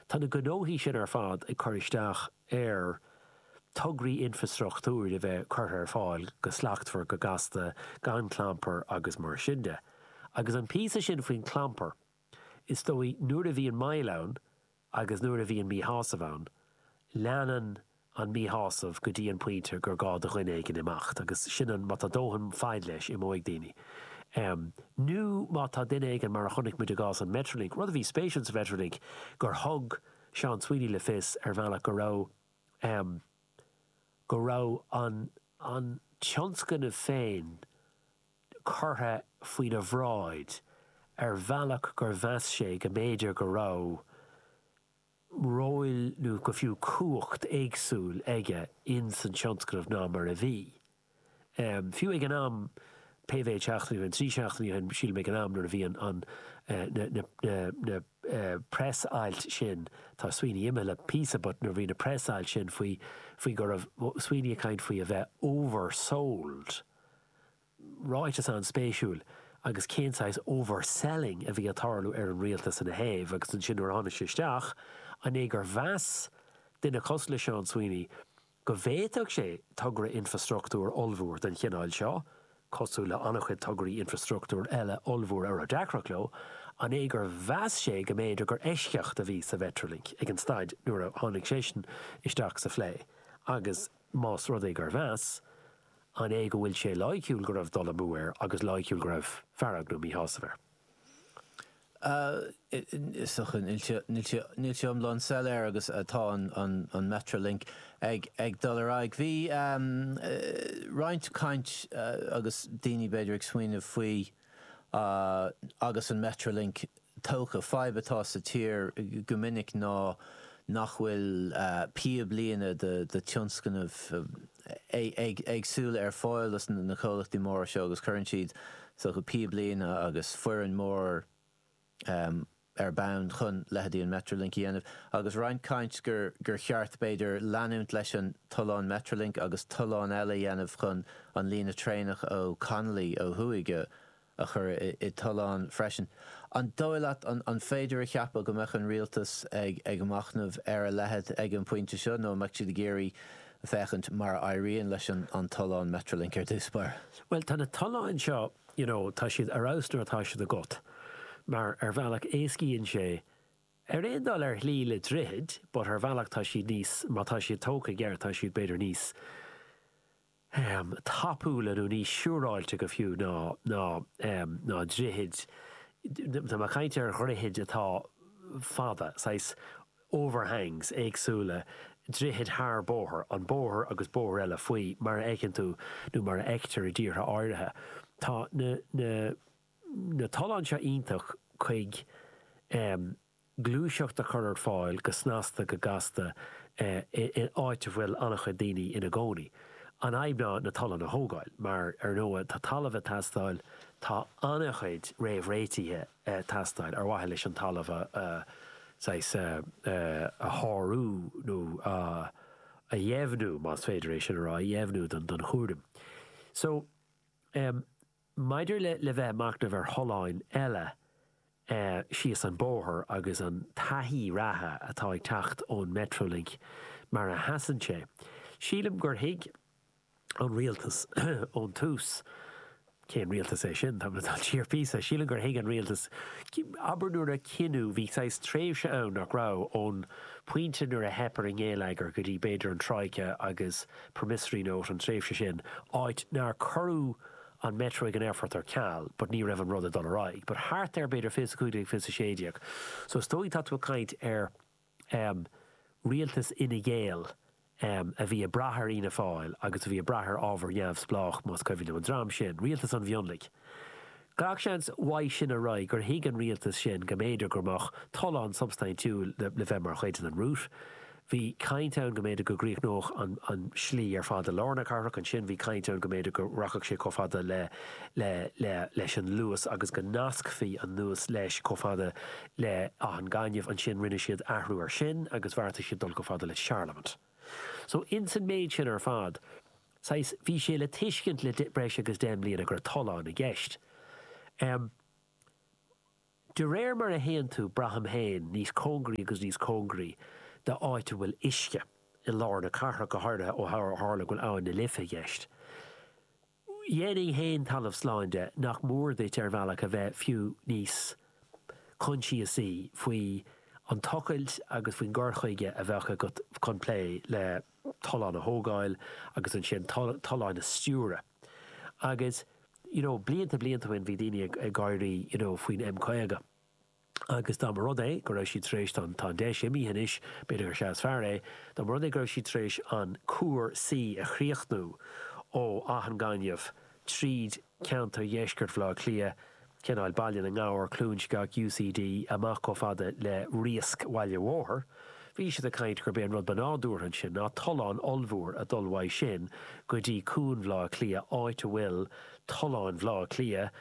Tá na gnóthaí sin ar fad ag cur isteach ar tograí infreastruchtúir a bheith curtha ar fáil go slachtmhar, go gasta, gan clampar agus mar sin de. Agus an píosa sin faoin clampar, is dóigh nuair a bhíonn moill ann agus nuair a bhíonn míshásamh ann, leanann an míshásamh go dtí an pointe gur gá do dhuine éigin imeacht agus sin an, má tá dóthain faid leis, imeoidh daoine. Nó má tá duine éigin, mar a chonaic muid i gcás an Metrolink, rud a bhí spéisiúil sa Mhetrolink, gur thug Seán Sweeney le fios ar bhealach go raibh, go raibh an, an tionscnamh féin curtha faoina bhráid ar bhealach gur mheas sé go mb'fhéidir go raibh ról nó go fiú cumhacht éagsúil aige ins an tionscnamh ná mar a bhí. Fiú ag an am, pé mhéid seachtainí ó shin, 3 seachtainí ó shin sílim ag an am nuair a bhí an, an, na, na, na, na press ailt sin, tá Sweeney imithe le píosa but nuair a bhí na press ailt sin faoi, faoi go raibh Sweeney ag caint faoi a bheith oversold, Ráiteas an-spéisiúil agus cén saghas overselling a bhí ag tarlú ar an rialtas ina thaobh agus ansin nuair a tháinig sé isteach, an é gur mheas duine cosúil le Seán Sweeney go bhféadfadh sé togra infreastruchtúir ollmhór den chineál seo, cosúil le an-chuid tograí infreastruchtúir eile ollmhóra a raibh deacracht leo, an é gur mheas sé go mb'fhéidir gur eisceacht a bhí sa Mhetrolink ag an staid nuair a tháinig seisean isteach sa phlé agus más rud é gur mheas, An é go bhfuil sé loighciúil go raibh dul amú air agus loighciúil go raibh fearg nó míshásamh air? Is dócha, níl sé, níl sé, níl sé iomlán soiléir agus tá an, an Metrolink ag, ag dul ar aghaidh. Bhí roinnt caint agus daoine b'fhéidir ag smaoineamh faoi agus an Metrolink tógtha. Fadhb atá sa tír go minic ná nach bhfuil píoblíne de tionscnaimh éagsúla ar fáil dos na comhlachtaí móra seo agus cuireann siad is dócha píoblíne agus foireann mór ar bun chun leithéidí an Metrolink a dhéanamh agus roinnt caint gur gur cheart b'fhéidir leanúint leis an tollán Metrolink agus tollán eile a dhéanamh chun an líne traenach ó Connolly ó thuaidh a a chur i dtollán freisin. An dóigh leat, an féidir a cheapadh go mbeadh an rialtas ag ag machnamh ar a leithéid ag an bpointe seo nó an mbeadh siad ag iarraidh féachaint mar a éiríonn leis an tollán Metrolink ar dtús báire? Bhuel, tá na tolláin seo, you know, tá siad ar fheabhas nuair atá siad agat mar ar bhealach éascaíonn sé, ar aon dul ar shlí le droichid, but ar bhealach tá siad níos, má tá siad tógtha i gceart, tá siad b'fhéidir níos, tapúla nó níos siúráilte go fiú ná ná ná droichid, tá mé ag caint ar dhroichid atá fada, saghas overhangs éagsúla, droichid thar bóthar, an bóthar agus bóthar eile faoi, mar a fheiceann tú nó mar a fheictear i dtíortha áirithe. Tá na na na tolláin seo iontach chuig. gluaiseacht a chur ar fáil go snasta, go gasta in áit a bhfuil an-chuid daoine ina gcónaí. An fhadhb ná na tolláin a thógáil, mar ar ndóigh tá talamh ag teastáil, tá an-chuid réamhréitithe ag teastáil ar mhaithe leis an talamh a saghas a shárú nó a dheimhniú, más féidir é sin a rá, a dheimhniú don chúram. So, maidir le le bheith ag machnamh ar tholláin eile, síos an bóthar agus an taithí reatha atá ag teacht ón Metrolink mar a sheasann sé. Sílim gur thuig an rialtas ón tús, cén rialtas é sin, táim ag dul siar píosa, sílim gur thuig an rialtas, abair nuair a cinneadh, bhí saghas tréimhse ann nach raibh, ón pointe nuair a theip ar an ngeilleagar go dtí b'fhéidir an Troika agus promissory note, an tréimhse sin, áit nár cuireadh an Metro ag an aerfort ar ceal but ní raibh an rud ag dul ar aghaidh but thart ar b'fhéidir 25, 26 so is dóigh tá tú ag caint ar em rialtas Fhine Gael em a bhí ag brath ar Fhianna Fáil agus a bhí ag brath ar ábhar neamhspleách más cuimhin liom an dream sin, rialtas an mhionlaigh. Gach seans uaidh sin ar aghaidh gur thuig an rialtas sin go mb'fhéidir go mbeadh tollán substaintiúil le bheith mar chuid den route. Bhí caint ann go mb'fhéidir go gcríochnódh an an slí ar fad i lár na cathrach, ansin bhí caint ann go mb'fhéidir go rachadh sé chomh fada le le le leis an Luas agus go nascfaí an Luas leis chomh fada le Áth an Ghainimh, ansin rinne siad athrú ar sin agus bheartaigh siad dul chomh fada le Charlemont. So ins an méid sin ar fad, saghas, bhí sé le tuiscint le breis agus 10 mbliana go raibh tollán i gceist. Em. De réir mar a théann tú, braithim féin, níos cóngaraí agus níos cóngaraí d'áit a bhfuil uisce, i lár na cathrach go háirithe ó tharla go bhfuil Abhainn na Life i gceist. Dhéanfainn féin talamh slán de nach mór duit ar bhealach a bheith fiú níos coinsiasaí faoi an tochailt agus faoin gcur chuige a bheadh agat chun plé le tolláin a thógáil agus ansin tolláin a stiúradh. Agus you know blianta blianta ó shin bhí daoine ag gáirí you know faoin M50 agus dá mba rud é go raibh siad tar éis, tá an deis imithe anois, b'fhéidir gur sea is fearr é, dá mba rud é go raibh siad tar éis an cuar C a chríochnú ó Áth an Ghainimh tríd ceantar dheisceart Bhaile Átha Cliath, cineál Baile na nGabhar, Cluain Sceach, UCD, amach chomh fada le Riasc Bhaile Bhóthair. Bhí siad ag caint gurb é an rud ba nádúrtha ansin ná tollán ollmhór a dhul uaidh sin go dtí Cuan Bhaile Átha Cliath, áit a bhfuil tolláin Bhaile Átha Cliath,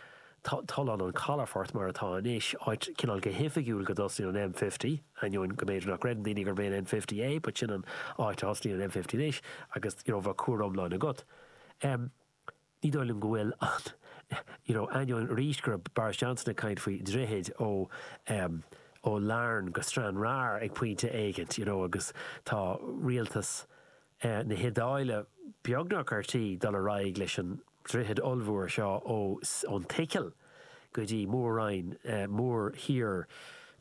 tollán an chalafort mar atá anois, áit cineál go hoifigiúil go dtosaíonn an M50, ainneoin go mb'fhéidir nach gcreideann daoine gurb é an M50 é, but sin an áit a thosaíonn an M50 anois agus you know bheadh cuar iomlán agat. Ní dóigh liom go bhfuil an, you know, ainneoin arís go raibh Boris Johnson ag caint faoi dhroichid ó, em, ó Larne go Stranraer ag pointe éigint, you know, agus tá rialtas, eh, na hIodáile beagnach ar tí dul ar aghaidh leis an droichead ollmhór seo ó, ón tSicil go dtí mór-roinn, eh, mórthír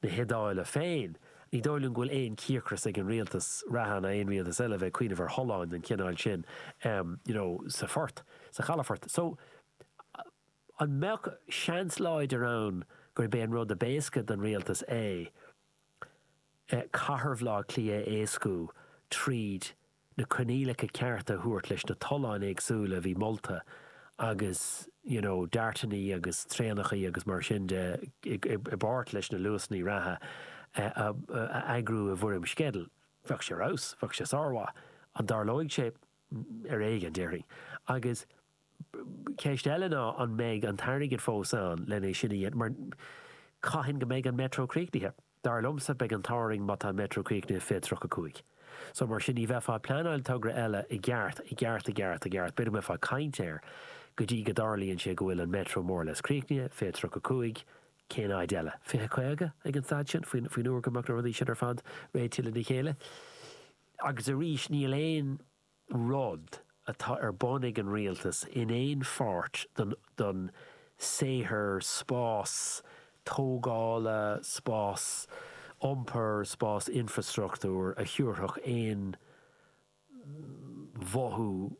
na hIodáile féin. Ní dóigh liom go bhfuil aon chíocras ag an rialtas reatha ná aon rialtas eile a bheith ag cuimhneamh ar tholláin den chineál sin you know sa phort, sa chalafort. So, an mbeadh seans láidir ann gurb é an rud ab éasca don rialtas é cathair Bhaile Átha Cliath a éascú tríd na coinníollacha cearta a thabhairt leis na tolláin éagsúla a bhí molta agus you know DARTannaí agus traenachaí agus mar sin de i bpáirt leis na luasannaí reatha a eagrú i bhfoirm sceidil. Bheadh sé ar fheabhas, bheadh sé sármhaith. An dtarlóidh sé? Ar éigean, déarfainn. Agus ceist eile ná an mbeidh an t-airgead fós ann len é sin a dhéanamh mar cathain go mbeidh an Metro críochnaithe? Dar liomsa, beidh an t-ádh orainn má tá an Metro críochnaithe 2035. So mar sin ní bheifeá ag pleanáil togra eile i gceart, i gceart, i gceart, i gceart, b'fhéidir go mbeifeá ag caint air go dtí go dtarlaíonn sé go bhfuil an Metro more or less críochnaithe, 2035, cén fhaid eile? 2050 ag an staid sin, faoin uair go mbeadh na rudaí sin ar fad réitithe lena chéile. Agus arís, níl aon rud atá ar bun ag an rialtas in aon pháirt den saothar spás tógála, spás iompair, spás infreastruchtúir a thabharfadh aon mhothú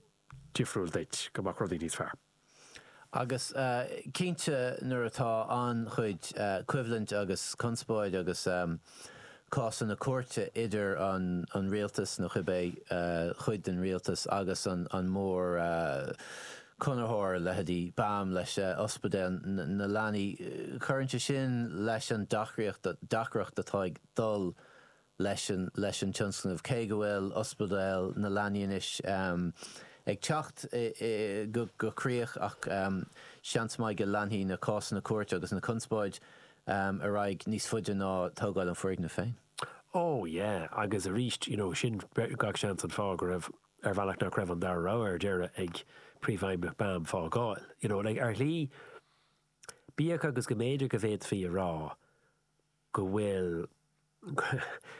difriúil duit go mbeadh rudaí níos fearr. Agus cinnte nuair atá an-chuid coimhlint agus conspóid agus cásanna cúirte idir an rialtas, nó cibé cuid den rialtas, agus an mór conraitheoir, leithéidí BAM leis Ospidéal na Leanaí, cuireann sé sin leis an deacracht atá ag dul leis an leis an tionscnamh. Cé go bhfuil Ospidéal na Leanaí anois ag teacht go críoch ach seans maith go leanfaidh na cásanna cúirte agus na conspóid ar aghaidh níos faide ná tógáil an foirgnimh féin. Oh yeah, agus arís, you know, sin gach seans an fáth go raibh, ar bhealach nach raibh an dara rogha ar deireadh ag príomhfheidhmeannach BAM fágáil. You know, like, ar shlí, bíodh agus go mb'fhéidir go bhféadfaí a rá go bhfuil,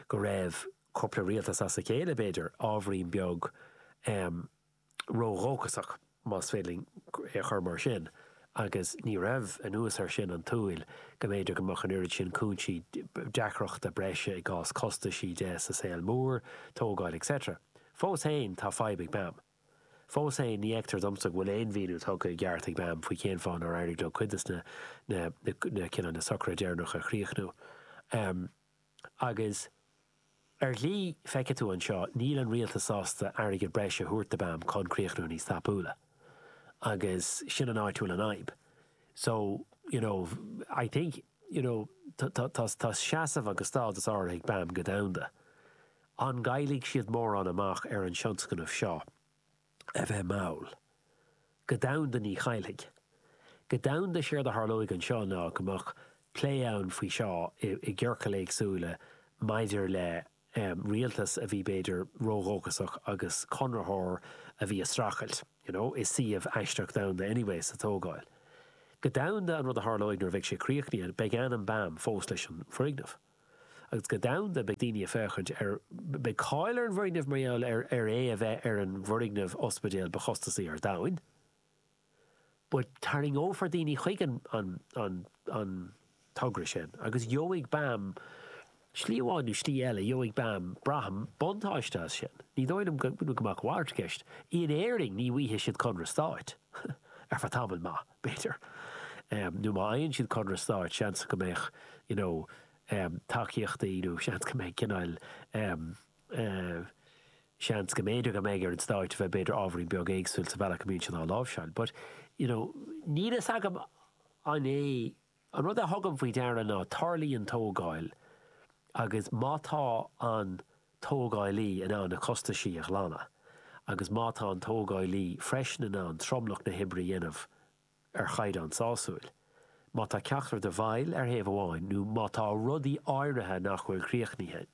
go raibh cúpla rialtas as a chéile, b'fhéidir, ábhairín beag ródhóchasach, más féidir linn é a chur mar sin, agus ní raibh, anuas air sin, an tsúil go mb'fhéidir go mbeadh an oiread sin cúinsí deacrachta breise i gcás costaisí de sa saol mór, tógáil etc. Fós féin, tá fadhb ag BAM. Fós féin, ní fheictear domsa go bhfuil aon mhíniú tugtha i gceart ag BAM faoi cén fáth nár éirigh leo cuid de na na cineál na socruithe deireanacha a chríochnú. Agus ar shlí, feicfidh tú anseo, níl an rialtas sásta airgead breise a thabhairt do BAM chun críochnú níos tapúla. Agus sin an áit a bhfuil an fhadhb. So, you know, I think, you know, tá tá seasamh agus stádas áirithe ag BAM go domhanda. An gcaillfidh siad mórán amach ar an tionscnamh seo a bheith mall? Go domhanda ní chaillfidh. Go domhanda séard a tharlóidh anseo ná go mbeadh plé ann faoi seo i gciorcail éagsúla maidir le rialtas a bhí b'fhéidir ródhóchasach agus conraitheoir a bhí ag streachailt, you know, i suíomh aisteach domhanda anyway sa tógáil. Go domhanda, an rud a tharlóidh nuair a bheidh sé críochnaithe, beidh ainm BAM fós leis an bhfoirgneamh. Agus go domhanda, beidh daoine ag féachaint ar, beidh cáil ar an bhfoirgneamh mar gheall ar ar é a bheith ar an bhfoirgneamh ospidéil ba chostasaí ar domhain. But tarraingeofar daoine chuig an an an an togra sin agus gheobhaidh BAM, slí amháin nó slí eile, gheobhaidh BAM, braithim, buntáiste as sin. Ní dóigh liom go go mbeadh a mhalairt i gceist. In Éirinn ní bhfaighidh siad conradh stáit ar feadh tamaill maith, b'fhéidir. Nó má fhaigheann siad conradh stáit, seans go mbeadh, you know, tacaíochtaí nó seans go mbeidh cineál eh, seans go mb'fhéidir go mbeidh ar an stáit a bheith b'fhéidir ábhairín beag éagsúil sa bhealach a mbíonn siad á láimhseáil. But, you know, níl fhios agam an é, an rud a thugaim faoi deara ná tarlaíonn tógáil agus má tá an tógálaí in ann na costaisí a ghlanadh agus má tá an tógálaí freisin in ann tromlach na hoibre a dhéanamh ar chaighdeán sásúil. Má tá ceachtar de mhoill ar thaobh amháin nó má tá rudaí áirithe nach bhfuil críochnaithe,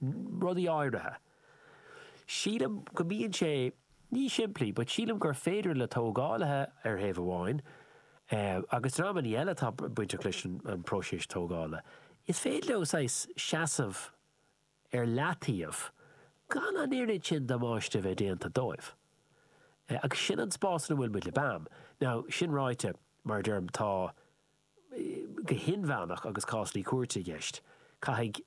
rudaí áirithe. Sílim go mbíonn sé, ní simplí, but sílim gur féidir le tógálaithe ar thaobh amháin agus dreamanna eile atá bainteach leis an bpróiseas tógála, is féidir leo saghas seasamh ar leataobh gan an oiread sin damáiste a bheith déanta dóibh. Agus sin an spás ina bhfuil muid le BAM. Now, sin ráite, mar a deirim, tá, go hinmheánach agus cásanna cúirte i gceist, caithfidh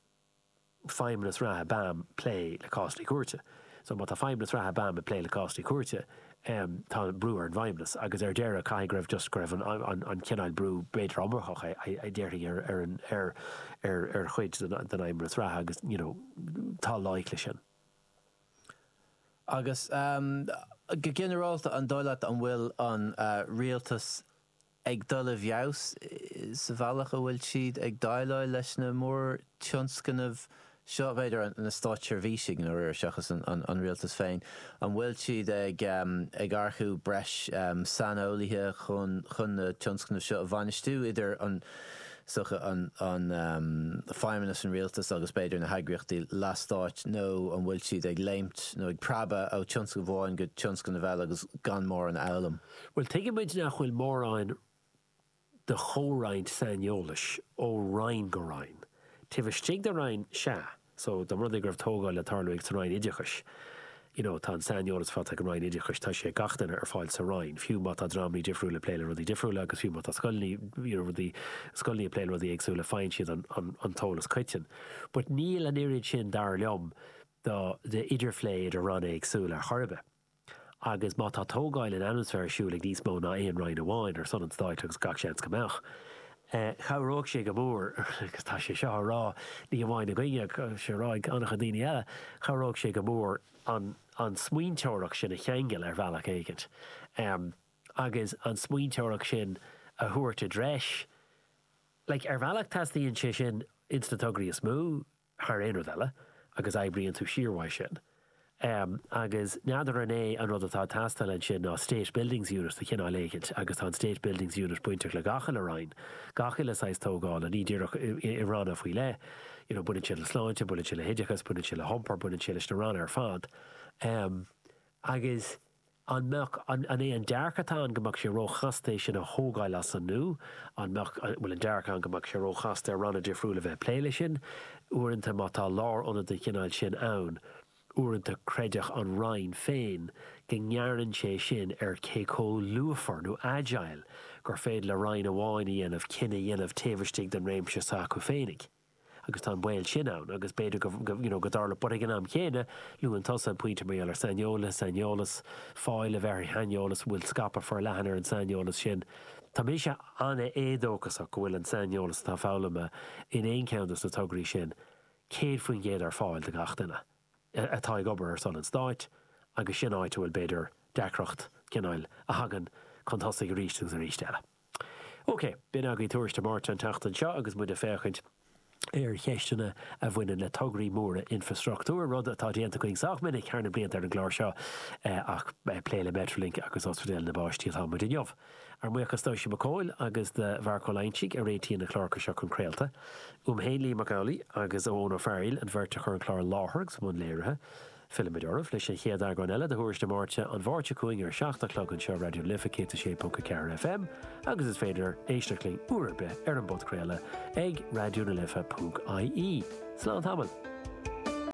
feidhmeannas reatha BAM plé le cásanna cúirte. So má tá feidhmeannas reatha BAM ag plé le cásanna cúirte, tá brú ar an bhfeidhmeannas agus ar deireadh caithfidh go raibh just go raibh an an cineál brú b'fhéidir iomarcach a déarfainn ar ar an ar ar ar chuid den den fheidhmeannas reatha agus you know tá loighic leis sin. Agus go ginearálta an dóigh leat an bhfuil an rialtas ag dul i bhfeabhas sa bhealach a bhfuil siad ag déileáil leis na mórtionscnaimh seo, b'fhéidir, na státseirbhísigh, i ndáiríre, seachas an rialtas féin. An bhfuil siad ag earcú breis saineolaithe chun na tionscnaimh seo a bhainistiú, idir an, is dócha, an feidhmeannas an rialtais agus b'fhéidir na heagraíochtaí leathstáit, nó an bhfuil siad ag léimt nó ag preabadh ó tionscnamh amháin go tionscnamh eile agus gan mórán a fhoghlaim? Bhuel, tuigimid nach bhfuil mórán de chomhroinnt saineolais ó roinn go roinn. Taobh istigh de roinn, sea. So, dá mba rud é go raibh tógáil le tarlú ag sa Roinn Oideachais, you know, tá an saineolas faighte ag an Roinn Oideachais, tá sé ag gach duine ar fáil sa Roinn, fiú má tá dreamanna difriúla ag plé le rudaí difriúla agus fiú má tá scoileanna, you know, rudaí, scoileanna ag plé le rudaí éagsúla, faigheann siad an, an, an t-eolas coiteann. But níl an oiread sin, dar liom, de, de idirphlé idir ranna éagsúla ar chor ar bith. Agus má tá tógáil in ainm is bheith ar siúl ag níos mó ná aon roinn amháin ar son an stáit, agus gach seans go mbeadh, chabhródh sé go mór, agus tá sé seo á rá ní hamháin againne, tá sé á rá ag an-chuid daoine eile, chabhródh sé go mór an an smaointeoireacht sin a cheangal ar bhealach éigint, agus an smaointeoireacht sin a thabhairt i dtreis. Like, ar bhealach teastaíonn sé sin ins na tograí is mó, thar aon rud eile, agus oibríonn tú siar uaidh sin. Agus n'fheadar an é an rud atá ag teastáil ansin ná State Buildings Unit de chineál éicint, agus tá an State Buildings Unit bainteach le gach uile roinn, gach uile saghas tógála, ní díreach i ranna faoi leith. You know, baineann sé le sláinte, baineann sé le hoideachas, baineann sé le hiompar, baineann sé leis na ranna ar fad. Agus. An mbeadh, an é an dearcadh atá ann go mbeadh sé róchasta é sin a thógáil as an nua? An mbeadh, an bhfuil an dearcadh ann go mbeadh sé róchasta ar ranna difriúla a bheith ag plé leis sin? Uaireanta má tá lárionad den chineál sin ann, uaireanta creideann an Roinn féin go ngearrann sé sin ar cé chomh luafar nó agile gur féidir le Roinn amháin a dhéanamh cinneadh a dhéanamh taobh istigh den réimse s'acu féinig. agus tá an baol sin ann agus b'fhéidir go, you know, go dtarlódh, but ag an am chéanna, luann tusa an pointe mar gheall ar saineolaithe, saineolas, fáil a bheith ar shaineolas, an bhfuil scaipeadh forleathan ar an saineolas sin. Tá mise an-éadóchasach go bhfuil an saineolas atá foghlamtha in aon cheann dos na tograí sin 100% ar fáil do gach duine atá ag obair ar son an stáit agus sin áit a bhfuil b'fhéidir deacracht cineáil a thagann chun tosaigh arís agus arís eile. Ok, b'in agaibh Tuairisc Dé Máirt an tseachtain seo agus muid ag féachaint ar cheisteanna a bhaineann le tograí móra infreastruchtúir, rud atá déanta againn sách minic thar na blianta ar an gclár seo ach plé le Metrolink agus Ospidéal na bPáistí atá muid inniu. Ár mbuíochas d'Oisín Mac Cóil agus do Mharc Ó Loingsigh a réitíonn na cláracha seo chun craolta. Uaim féin, Liam Mac Amhlaigh, agus Eoin Ó Fearghaíl, an bheirt a chuir an clár i láthair agus i mbun léirithe. Fillfimid oraibh leis an chéad eagrán eile de Thuairisc na Máirte an Mháirt seo chugainn ar a 7 a chlog anseo Raidió na Life 106.4 FM agus is féidir éisteacht linn uair ar bith ar an bpodchraoladh ag raidionalife.ie. Slán tamall!